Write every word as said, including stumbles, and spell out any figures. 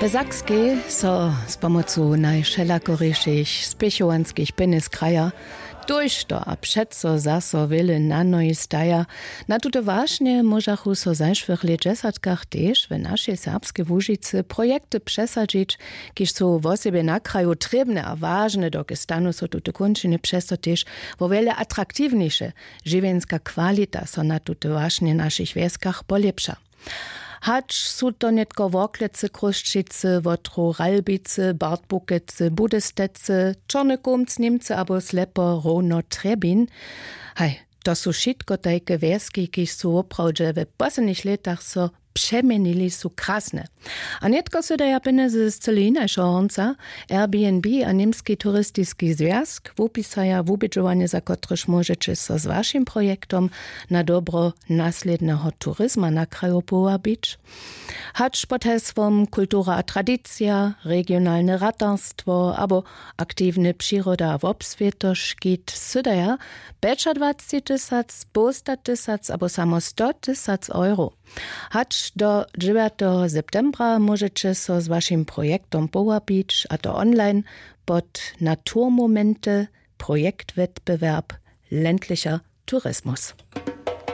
W Sakskej so z pomocu najwšelakorješich spěchowanskich pjenjez kraja tójšto a přeco zaso wjele na nohi staja. Na tute wašnje móžachu so w zašłych lětdźesatkach tež w našej serbskej łužicy projekty přesadźić, kiž su wosebje na kraju trěbne a wažne, dokelž stanu so tute kónčiny přez to tež wo wjele atraktiwnjejše. Žiwjenska kwalita so na tute wašnje w našich wjeskach polěpša. Hač su to nětko Worklecy, Chrósćicy, Wotrow, Ralbicy, Bartbukecy, Budestecy, Čorny Kómc, Němcy abo slepo hróno Trjebin. Haj, to su wšitko tajke wjeski, kiž su woprawdźe w poslednich lětach so přeměnili, su krasne. A nětko sydaja pjenjezy z cyle hinašeho hornca. Airbnb a Němski turistiski zwjazk wupisaja wubědźowanje, za kotrež móžeće so z wašim projektom na dobro naslědneho turizma na kraju powabić. Hač pod hesłom kultura a tradicija, regionalne ratarstwo abo aktiwne přiroda a wobswěto škit sydaja pjećadwacci tysac, połsta tysac abo samo sto tysac euro. Hač do dźewjateho septembra móžeće so z wašim projektom powabić, a to online pod Naturmomente, Projektwettbewerb, ländlicher Tourismus.